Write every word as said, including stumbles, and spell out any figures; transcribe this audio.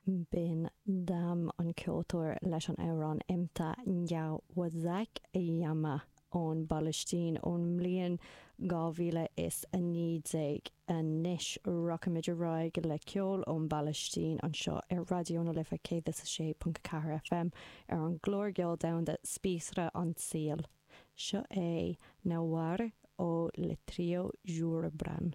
B'in Dam an ceoltóir leis an amhrán Emta Njawazak Yama ón bPalaistín ón mbliain dhá mhíle is a naoi déag. Anois rachaimid ar aghaidh le ceol ón bPalaistín anseo ar Raidió na Life céad is a sé ponc ceathair FM ar an gclár ceoil domhanda Spíosra an tSaoil. Seo é Nawar ó Le Trio Joubran.